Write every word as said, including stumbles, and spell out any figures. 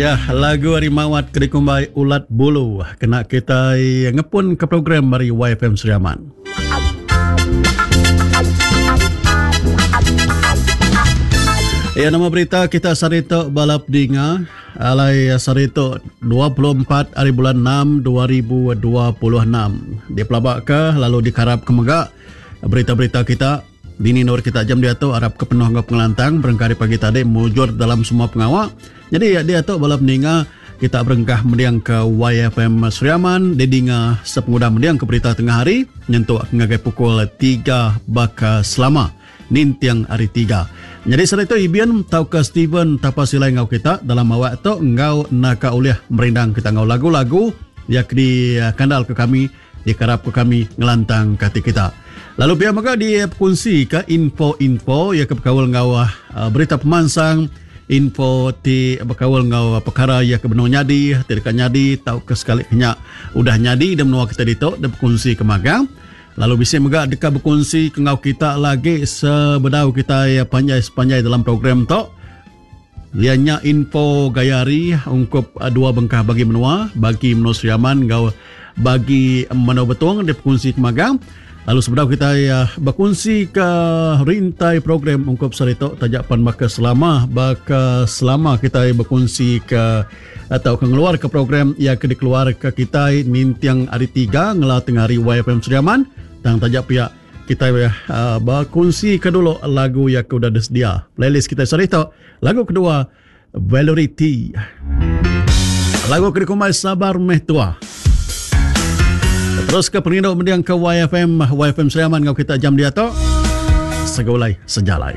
Ya, lagu ari Mawat ke dikumbai Ulat Bulu kena kita ngepun ke program ari Y F M Sri Aman. Ya, nama berita kita sehari tu balap dinga alai sehari tu dua puluh empat hari bulan enam dua ribu dua puluh enam. Dipelabaka lalu dikarap ke mega berita-berita kita dini nur kita jam dia tu arap ke penuh enggau pengelantang berengkah hari pagi tadi mujur dalam semua pengawa. Jadi dia tu balap ninga kita berengkah mendiang ke Y F M Sri Aman didinga sepengudah mendiang ke berita tengah hari nyentuk ngagai pukul tiga baka selama nintiang hari tiga. Jadi sehari tu Ibian tau ke Steven Tapasilai ngau kita dalam awak tu ngau naka ulih merindang kita ngau lagu-lagu yang di kandal ke kami dikarap ke kami ngelantang ke hati kita. Lalu pihak mega dikongsi ke info-info yang ke berkaul ngau uh, berita pemansang, info ti berkaul ngau perkara yang ke benar nyadi, ti dekat nyadi tau ke sekali kenyak udah nyadi dan menua kita ditu dan berkongsi ke magang. Lalu bisa mega dekat berkongsi ke ngau kita lagi sebedau kita ya panjai-sepanjai dalam program tu. Ianya info gaya hari ungkup dua bengkah bagi menua, bagi menua Sri Aman ngau bagi menua Betong dia berkongsi ke magang. Lalu sebedau kita ya berkongsi ke rintai program ungkup sehari tu tajak pan baka selama baka selama kita berkongsi ke atau ke ngeluar ke program yang ke dikeluar ke kita nintiang hari tiga ngela tengah hari Y F M Sri Aman tang tajak pihak kita ya uh, berkongsi ke dulu lagu yang ke udah disedia playlist kita sehari tu. Lagu kedua Valerie T, lagu ke dikumbai Sabar Meh Tua. Terus ke perindu mendiang ke Y F M, Y F M Sri Aman ngau kita jam dia tu. Segulai sejalai.